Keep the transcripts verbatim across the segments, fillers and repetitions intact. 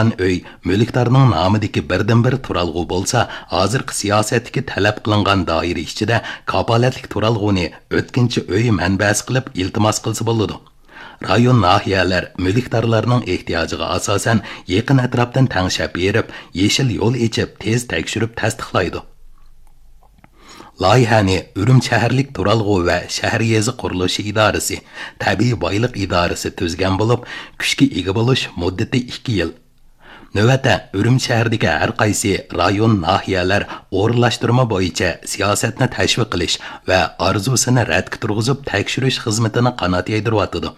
ئۆي مۈلۈكدارنىڭ نامىدىكى بىردىنبىر تۇرالغۇ بولسا، ھازىرقى سىياسەتتىكى تەلەپ قىلىنغان دائىرە ئىچىدە كاپالەتلىك تۇرالغۇنى ئۆتكۈنچى ئۆي مەنبەسى قىلىپ ئىلتىماس قىلسا بولىدۇ. رايون، ناھىيەلەر مۈلۈكدارلارنىڭ ئېھتىياجىغا ئاساسەن يېقىن ئەتراپتىن تەڭشەپ بېرىپ، يېشىل يول ئېچىپ، تېز تەكشۈرۈپ تەستىقلايدۇ. لايىھەنى ئۈرۈمچى شەھەرلىك تۇرالغۇ ۋە شەھەر يېزا قۇرۇلۇشى ئىدارىسى، تەبىئىي بايلىق ئىدارىسى تۈزگەن بولۇپ، كۈچكە ئىگە بولۇش مۇددىتى ئىككى يىل. نۆۋەتتە ئۈرۈمچى شەھىرىدىكى ھەر قايسى رايون، ناھىيەلەر ئورۇنلاشتۇرما بويىچە سىياسەتنى تەشۋىق قىلىش ۋە ئارزۇسىنى رەتكە تۇرغۇزۇپ تەكشۈرۈش خىزمىتىنى قانات يايدۇرۇۋاتىدۇ.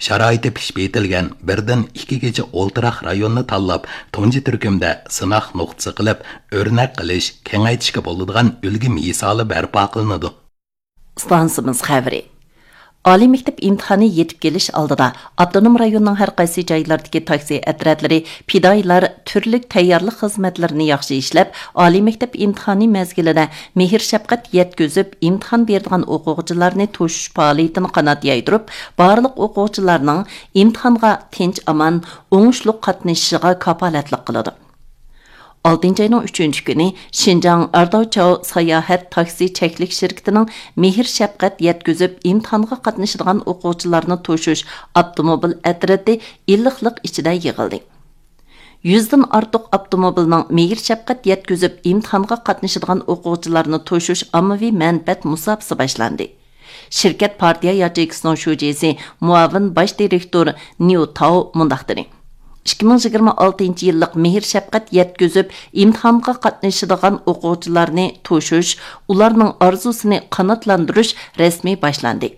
شارائىتى پىشىپ يېتىلگەن بىردىن ئىككىگىچە ئولتۇراق رايوننى تاللاپ، تۇنجى تۈركۈمدە سىناق نۇقتىسى قىلىپ، ئۆرنەك قىلىش، كېڭەيتىشكە بولىدىغان ئۈلگە مىسالى بەرپا قىلىنىدۇ. ئىستانسىمىز خەۋىرى. ئالىي مەكتەپ ئىمتىھانى يېتىپ كېلىش ئالدىدا، ئاپتونوم رايوننىڭ ھەر قايسى جايلىرىدىكى تاكسى ئەترەتلىرى، پىدائىيلار تۈرلۈك تەييارلىق خىزمەتلىرىنى ياخشى ئىشلەپ، ئالىي مەكتەپ ئىمتىھانى مەزگىلىدە مېھىر-شەپقەت يەتكۈزۈپ، ئىمتىھان بېرىدىغان ئوقۇغۇچىلارنى توشۇش پائالىيىتىنى قانات يايدۇرۇپ، بارلىق ئوقۇغۇچىلارنىڭ ئىمتىھانغا تىنچ-ئامان، ئوڭۇشلۇق قاتنىشىشىغا كاپالەتلىك قىلىدۇ. ئالتىنچى ئاينىڭ ئۈچىنچى كۈنى شىنجاڭ ئارداۋچاۋ ساياھەت تاكسى چەكلىك شىركىتىنىڭ مېھىر-شەپقەت يەتكۈزۈپ ئىمتىھانغا قاتنىشىدىغان ئوقۇغۇچىلارنى توشۇش ئاپتوموبىل ئەترىتى ئىللىقلىق ئىچىدە يىغىلدى. يۈزدىن ئارتۇق ئاپتوموبىلنىڭ مېھىر-شەپقەت يەتكۈزۈپ ئىمتىھانغا قاتنىشىدىغان ئوقۇغۇچىلارنى توشۇش ئاممىۋى مەنپەئەت مۇساپىسى باشلاندى. شىركەت پارتىيە ياچېيكىسىنىڭ شۇجىسى، مۇئاۋىن باش دىرېكتور نيۇ تاۋ مۇنداق دېدى: «ئىككى مىڭ يىگىرمە ئالتىنچى يىللىق مېھىر-شەپقەت يەتكۈزۈپ ئىمتىھانغا قاتنىشىدىغان ئوقۇغۇچىلارنى توشۇش، ئۇلارنىڭ ئارزۇسىنى قاناتلاندۇرۇش رەسمىي باشلاندى.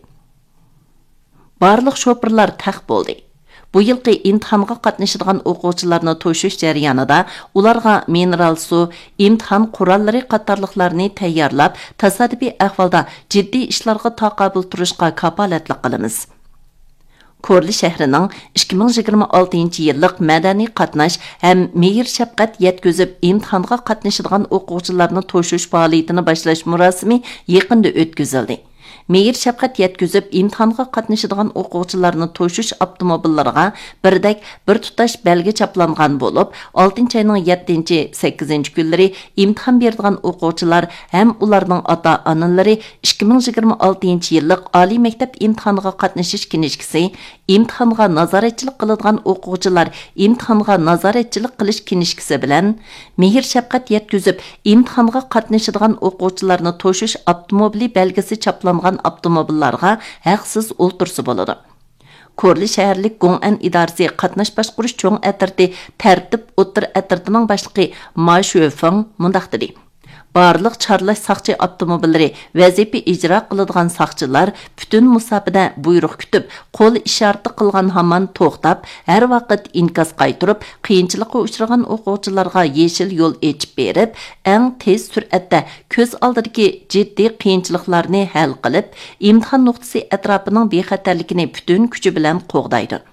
بارلىق شوپۇرلار تەق بولدى.» بۇ يىلقى ئىمتىھانغا قاتنىشىدىغان ئوقۇغۇچىلارنى توشۇش جەريانىدا ئۇلارغا مىنېرال سۇ، ئىمتىھان قوراللىرى قاتارلىقلارنى تەييارلاپ، تاسادىپىي ئەھۋالدا جىددىي ئىشلارغا تاقابىل تۇرۇشقا كاپالەتلىك قىلىمىز. كورلا شەھىرىنىڭ ئىككى مىڭ يىگىرمە ئالتىنچى يىللىق مەدەنىي قاتناش ھەم مېھىر-شەپقەت يەتكۈزۈپ ئىمتىھانغا قاتنىشىدىغان ئوقۇغۇچىلارنى توشۇش پائالىيىتىنى باشلاش مۇراسىمى يېقىندا ئۆتكۈزۈلدى. مېھىر-شەپقەت يەتكۈزۈپ ئىمتىھانغا قاتنىشىدىغان ئوقۇغۇچىلارنى توشۇش ئاپتوموبىللىرىغا بىردەك بىر تۇتاش بەلگە چاپلانغان بولۇپ، ئالتىنچى ئاينىڭ يەتتىنچى، سەككىزىنچى كۈنلىرى ئىمتىھان بېرىدىغان ئوقۇغۇچىلار ھەم ئۇلارنىڭ ئاتا-ئانىلىرى ئىككى مىڭ يىگىرمە ئالتىنچى يىللىق ئالىي مەكتەپ ئىمتىھانىغا قاتنىشىش كىنىشكىسى، ئىمتىھانغا نازارەتچىلىك قىلىدىغان ئوقۇغۇچىلار ئىمتىھانغا نازارەتچىلىك قىلىش كىنىشكىسى بىلەن، مېھىر-شەپقەت يەتكۈزۈپ ئىمتىھانغا قاتنىشىدىغان ئوقۇغۇچىلارنى توشۇش ئاپتوموبىلى بەلگىسى چاپلانغان ئاپتوموبىللارغا ھەقسىز ئولتۇرسا بولىدۇ. كورلا شەھەرلىك گوڭئەن ئىدارىسى قاتناش باشقۇرۇش چوڭ ئەترىتى تەرتىپ ئوتتۇرا ئەترىتىنىڭ باشلىقى ما شۆفېڭ مۇنداق دېدى: «بارلىق چارلاش ساقچى ئاپتوموبىللىرى، ۋەزىپە ئىجرا قىلىدىغان ساقچىلار پۈتۈن مۇساپىدە بۇيرۇق كۈتۈپ، قول ئىشارىتى قىلغان ھامان توختاپ، ھەر ۋاقىت ئىنكاس قايتۇرۇپ، قىيىنچىلىققا ئۇچرىغان ئوقۇغۇچىلارغا يېشىل يول ئېچىپ بېرىپ، ئەڭ تېز سۈرئەتتە كۆز ئالدىدىكى جىددىي قىيىنچىلىقلارنى ھەل قىلىپ، ئىمتىھان نۇقتىسى ئەتراپىنىڭ بىخەتەرلىكىنى پۈتۈن كۈچى بىلەن قوغدايدۇ.»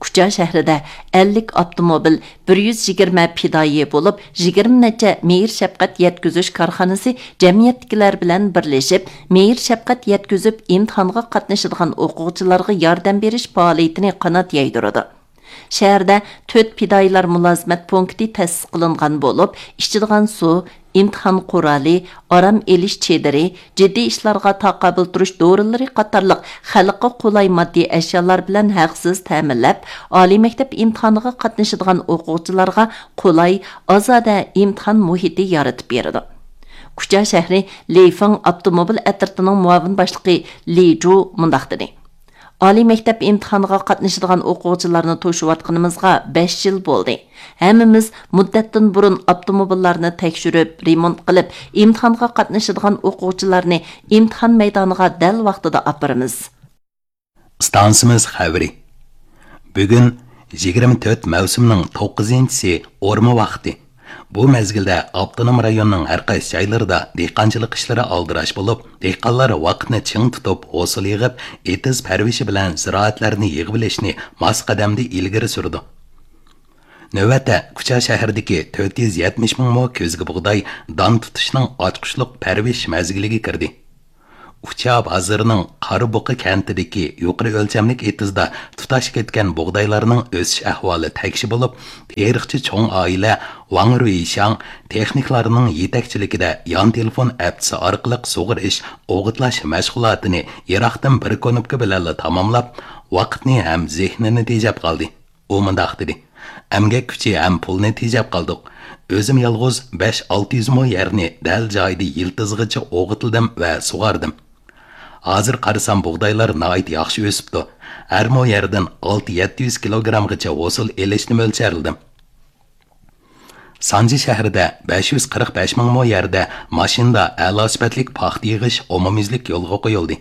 كۇچا شەھىرىدە ئەللىك ئاپتوموبىل، بىر يۈز يىگىرمە پىدائىي بولۇپ، يىگىرمە نەچچە مېھىر-شەپقەت يەتكۈزۈش كارخانىسى جەمئىيەتتىكىلەر بىلەن بىرلىشىپ، مېھىر-شەپقەت يەتكۈزۈپ ئىمتىھانغا قاتنىشىدىغان ئوقۇغۇچىلارغا ياردەم بېرىش پائالىيىتىنى قانات يايدۇرىدۇ. شەھەردە تۆت پىدائىيلار مۇلازىمەت پونكىتى تەسىس قىلىنغان بولۇپ، ئىچىدىغان سۇ، ئىمتىھان قورالى، ئارام ئېلىش چېدىرى، جىددىي ئىشلارغا تاقابىل تۇرۇش دورىلىرى قاتارلىق خەلققە قولاي ماددىي ئەشيالار بىلەن ھەقسىز تەمىنلەپ، ئالىي مەكتەپ ئىمتىھانىغا قاتنىشىدىغان ئوقۇغۇچىلارغا قولاي، ئازادە ئىمتىھان مۇھىتى يارىتىپ بېرىدۇ. كۇچا شەھىرى لىفېڭ ئاپتوموبىل ئەترىتىنىڭ مۇئاۋىن باشلىقى لى جۇ مۇنداق دېدى: ئالىي مەكتەپ ئىمتىھانىغا قاتنىشىدىغان ئوقۇغۇچىلارنى توشۇۋاتقىنىمىزغا بەش يىل بولدى. ھەممىمىز مۇددەتتىن بۇرۇن ئاپتوموبىللارنى تەكشۈرۈپ، رېمونت قىلىپ، ئىمتىھانغا قاتنىشىدىغان ئوقۇغۇچىلارنى ئىمتىھان مەيدانىغا دەل ۋاقتىدا ئاپىرىمىز. ئىستانسىمىز خەۋىرى. بۈگۈن يىگىرمە تۆت مەۋسۇمنىڭ توققۇزىنچىسى، ئورما ۋاقتى. بۇ مەزگىلدە ئاپتونوم رايوننىڭ ھەر قايسى جايلىرىدا دېھقانچىلىق ئىشلىرى ئالدىراش بولۇپ، دېھقانلار ۋاقىتنى چىڭ تۇتۇپ، ھوسۇل يىغىپ، ئېتىز پەرۋىشى بىلەن زىرائەتلەرنى يىغىۋېلىشنى ماس قەدەمدە ئىلگىرى سۈرىدۇ. نۆۋەتتە، كۇچا شەھىرىدىكى تۆت يۈز يەتمىش مىڭ مو كۆزگە بۇغداي دان تۇتۇشنىڭ ئاچقۇچلۇق پەرۋىش مەزگىلىگە كىردى. ئۇچا بازىرىنىڭ قارا بۇقا كەنتىدىكى يۇقىرى ئۆلچەملىك ئېتىزدا تۇتاش كەتكەن بۇغدايلارنىڭ ئۆسۈش ئەھۋالى تەكشى بولۇپ، تېرىقچى چوڭ ئائىلە ۋاڭ رۇيشاڭ تېخنىكلارنىڭ يېتەكچىلىكىدە يان تېلېفون ئەپچىسى ئارقىلىق سۇغىرىش، ئوغۇتلاش مەشغۇلاتىنى يىراقتىن بىر كۇنۇپكا بىلەنلا تاماملاپ، ۋاقىتنى ھەم زېھنىنى تېجەپ قالدى. ئۇ مۇنداق دېدى: «ئەمگەك كۈچى ھەم پۇلنى تېجەپ قالدۇق. ئۆزۈم يالغۇز بەش-ئالتە يۈز مو يەرنى دەل جايىدا يىلتىزىغىچە ئوغۇتلىدىم ۋە سۇغاردىم. ھازىر قارىسام، بۇغدايلار ناھايىتى ياخشى ئۆسۈپتۇ. ھەر مو يەردىن ئالتە-يەتتە يۈز كىلوگرامغىچە ھوسۇل ئېلىشنى مۆلچەرلىدىم.» سانجى شەھىرىدە بەش يۈز قىرىق بەش مىڭ مو يەردە ماشىنىدا ئەلا سۈپەتلىك پاختا يىغىش ئومۇميۈزلۈك يولغا قويۇلدى.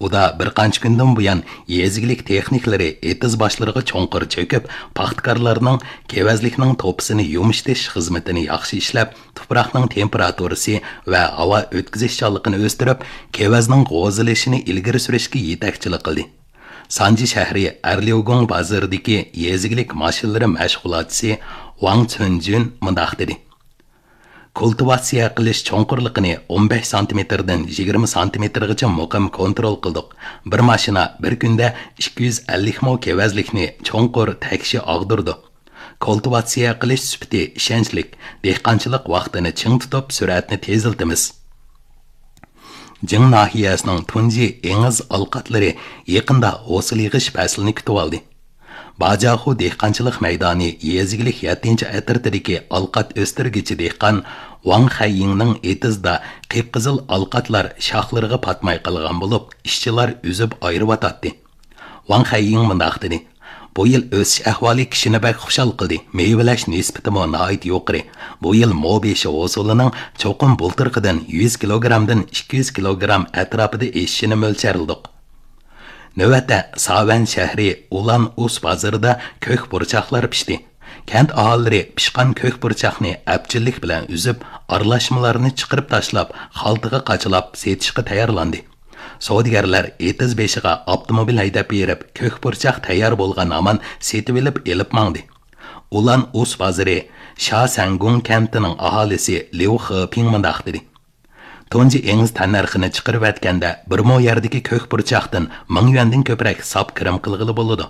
ئۇدا بىر قانچە كۈندىن بۇيان يېزا ئىگىلىك تېخنىكلىرى ئېتىز باشلىرىغا چوڭقۇر چۆكۈپ، پاختىكارلارنىڭ كېۋەزلىكنىڭ توپىسىنى يۇمشىتىش خىزمىتىنى ياخشى ئىشلەپ، تۇپراقنىڭ تېمپېراتۇرىسى ۋە ھاۋا ئۆتكۈزۈشچانلىقىنى ئۆستۈرۈپ، كېۋەزنىڭ غوزىلىشىنى ئىلگىرى سۈرۈشكە يېتەكچىلىك قىلدى. سانجى شەھىرى ئەرليۇگۇڭ بازىرىدىكى يېزا ئىگىلىك ماشىنىلىرى مەشغۇلاتچىسى ۋاڭ چۈنجۈن مۇنداق دېدى: «كۇلتىۋاتسىيە قىلىش چوڭقۇرلۇقىنى ئون بەش سانتىمېتىردىن يىگىرمە سانتىمېتىرغىچە مۇقىم كونترول قىلدۇق. بىر ماشىنا بىر كۈندە ئىككى يۈز ئەللىك مو كېۋەزلىكنى چوڭقۇر تەكشى ئاغدۇرىدۇ. كۇلتىۋاتسىيە قىلىش سۈپىتى ئىشەنچلىك، دېھقانچىلىق ۋاقتىنى چىڭ تۇتۇپ، سۈرئەتنى تېزلىتىمىز.» جىڭ ناھىيەسىنىڭ تۇنجى ئېڭىز ئالقاتلىرى يېقىندا ھوسۇل يىغىش پەسلىنى كۈتۈۋالدى. باجاخۇ دېھقانچىلىق مەيدانى يېزا ئىگىلىك يەتتىنچى ئەترىتىدىكى ئالقات ئۆستۈرگۈچى دېھقان ۋاڭ خەييىڭنىڭ ئېتىزدا قىپقىزىل ئالقاتلار شاخلىرىغا پاتماي قالغان بولۇپ، ئىشچىلار ئۈزۈپ ئايرىۋاتاتتى. ۋاڭ خەييىڭ مۇنداق دېدى: «بۇ يىل ئۆسۈش ئەھۋالى كىشىنى بەك خۇشال قىلدى. مېۋىلەش نىسبىتىمۇ ناھايىتى يۇقىرى. بۇ يىل مو بېشى ھوسۇلىنىڭ چوقۇم بۇلتۇرقىدىن يۈز كىلوگرامدىن ئىككى يۈز كىلوگرام ئەتراپىدا ئېشىشىنى مۆلچەرلىدۇق.» نۆۋەتتە ساۋەن شەھىرى ئۇلان ئۇس بازىرىدا كۆك پۇرچاقلار پىشتى. كەنت ئاھالىلىرى پىشقان كۆك پۇرچاقنى ئەپچىللىك بىلەن ئۈزۈپ، ئارىلاشمىلارنى چىقىرىپ تاشلاپ، خالتىغا قاچىلاپ سېتىشقا تەييارلاندى. سودىگەرلەر ئېتىز بېشىغا ئاپتوموبىل ھەيدەپ بېرىپ، كۆك پۇرچاق تەييار بولغان ھامان سېتىۋېلىپ ئېلىپ ماڭدى. ئۇلان ئۇس بازىرى شا سەنگۇڭ كەنتىنىڭ ئاھالىسى ليۇ خېپىڭ مۇنداق دېدى: «تۇنجى ئېڭىز تەننەرخىنى چىقىرىۋەتكەندە، بىر مو يەردىكى كۆك پۇرچاقتىن مىڭ يۈەندىن كۆپرەك ساپ كىرىم قىلغىلى بولىدۇ.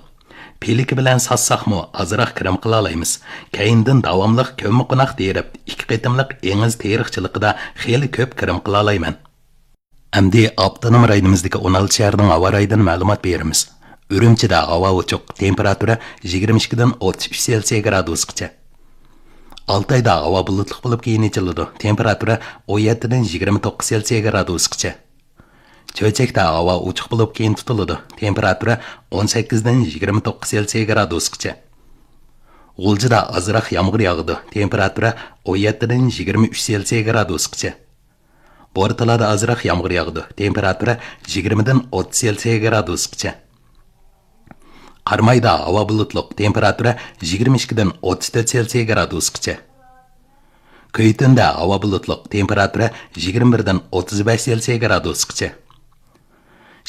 پىلىكى بىلەن ساتساقمۇ ئازراق كىرىم قىلالايمىز. كەينىدىن داۋاملىق كۆممىقوناق تېرىپ، ئىككى قېتىملىق ئېڭىز تېرىقچىلىقىدا خېلى كۆپ كىرىم قىلالايمەن.» ئەمدى ئاپتونوم رايونىمىزدىكى ئون ئالتە شەھەرنىڭ ھاۋا رايىدىن مەلۇمات بېرىمىز. ئۈرۈمچىدە ھاۋا ئوچۇق، تېمپېراتۇرا يىگىرمە ئىككىدىن ئوتتۇز ئۈچ سېلسىيە گرادۇسقىچە. ئالتايدا ھاۋا بۇلۇتلۇق بولۇپ، كېيىن ئېچىلىدۇ، تېمپېراتۇرا ئون يەتتىدىن يىگىرمە توققۇز سېلسىيە گرادۇسقىچە. چۆچەكتە ھاۋا ئوچۇق بولۇپ، كېيىن تۇتۇلىدۇ، تېمپېراتۇرا ئون سەككىزدىن يىگىرمە توققۇز سېلسىيە گرادۇسقىچە. غۇلجىدا ئازراق يامغۇر ياغىدۇ، تېمپېراتۇرا ئون يەتتىدىن يىگىرمە ئۈچ سېلسىيە گرادۇسقىچە. بورتالادا ئازراق يامغۇر ياغىدۇ، تېمپېراتۇرا يىگىرمىدىن ئوتتۇز سېلسىيە گرادۇسقىچە. قارامايدا ھاۋا بۇلۇتلۇق، تېمپېراتۇرا يىگىرمە ئىككىدىن ئوتتۇز تۆت سېلسىيە گرادۇسقىچە. كۈيتۈندە ھاۋا بۇلۇتلۇق، تېمپېراتۇرا يىگىرمە بىردىن ئوتتۇز بەش سېلسىيە گرادۇسقىچە.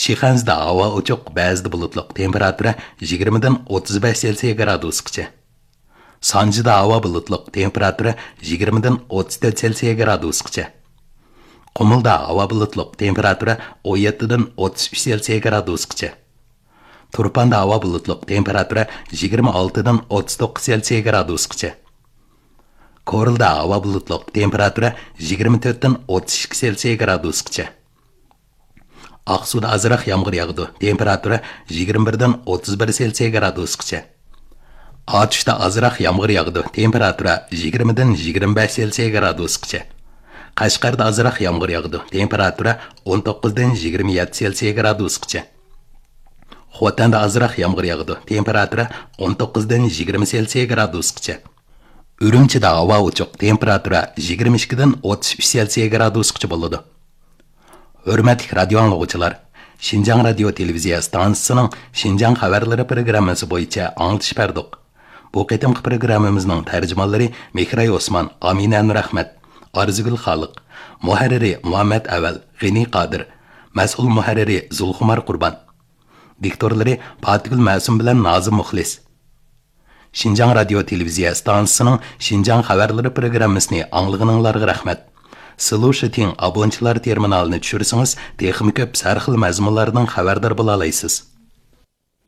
شىخەنزىدە ھاۋا ئوچۇق، بەزىدە بۇلۇتلۇق، تېمپېراتۇرا يىگىرمىدىن ئوتتۇز بەش سېلسىيە گرادۇسقىچە. سانجىدا ھاۋا بۇلۇتلۇق، تېمپېراتۇرا يىگىرمىدىن ئوتتۇز تۆت سېلسىيە گرادۇسقىچە. قۇمۇلدا ھاۋا بۇلۇتلۇق، تېمپېراتۇرا ئون يەتتىدىن ئوتتۇز ئۈچ سېلسىيە گرادۇسقىچە. تۇرپاندا ھاۋا بۇلۇتلۇق، تېمپېراتۇرا يىگىرمە ئالتىدىن ئوتتۇز توققۇز سېلسىيە گرادۇسقىچە. كورلىدا ھاۋا بۇلۇتلۇق، تېمپېراتۇرا يىگىرمە تۆتتىن ئوتتۇز ئىككى سېلسىيە گرادۇسقىچە. ئاقسۇدا ئازراق يامغۇر ياغىدۇ، تېمپېراتۇرا يىگىرمە بىردىن ئوتتۇز بىر سېلسىيە گرادۇسقىچە. ئاتۇشتا ئازراق يامغۇر ياغىدۇ، تېمپېراتۇرا يىگىرمىدىن يىگىرمە بەش سېلسىيە گرادۇسقىچە. قەشقەردە ئازراق يامغۇر ياغىدۇ، تېمپېراتۇرا ئون توققۇزدىن يىگىرمە يەتتە سېلسىيە گرادۇسقىچە. خوتەندە ئازراق يامغۇر ياغىدۇ، تېمپېراتۇرا ئون توققۇزدىن يىگىرمە سېلسىيە گرادۇسقىچە. ئۈرۈمچىدە ھاۋا ئوچۇق، تېمپېراتۇرا يىگىرمە ئىككىدىن ئوتتۇز ئۈچ سېلسىيە گرادۇسقىچە بولىدۇ. ھۆرمەتلىك رادىيو ئاڭلىغۇچىلار، شىنجاڭ رادىيو تېلېۋىزىيە ئىستانسىسىنىڭ شىنجاڭ خەۋەرلىرى پروگراممىسى بويىچە ئاڭلىتىش بەردۇق. بۇ قېتىمقى پروگراممىمىزنىڭ تەرجىمانلىرى مېھراي ئوسمان، ئامىنە نۇرئەخمەت، ئارزۇگۈل خالىق، مۇھەررىرى مۇھەممەت ئەۋەل، غېنى قادىر، مەسئۇل مۇھەررىرى زۇلخۇمار قۇربان، دىكتورلىرى پاتىگۈل مەسۇم بىلەن نازىم مۇخلىس. شىنجاڭ رادىيو تېلېۋىزىيە ئىستانسىسىنىڭ شىنجاڭ خەۋەرلىرى پروگراممىسىنى ئاڭلىغىنىڭلارغا رەھمەت. سلۇشىتىڭ ئابونتلار تېرمىنالىنى چۈشۈرسىڭىز، تېخىمۇ كۆپ سەرخىل مەزمۇنلاردىن خەۋەردار بولالايسىز.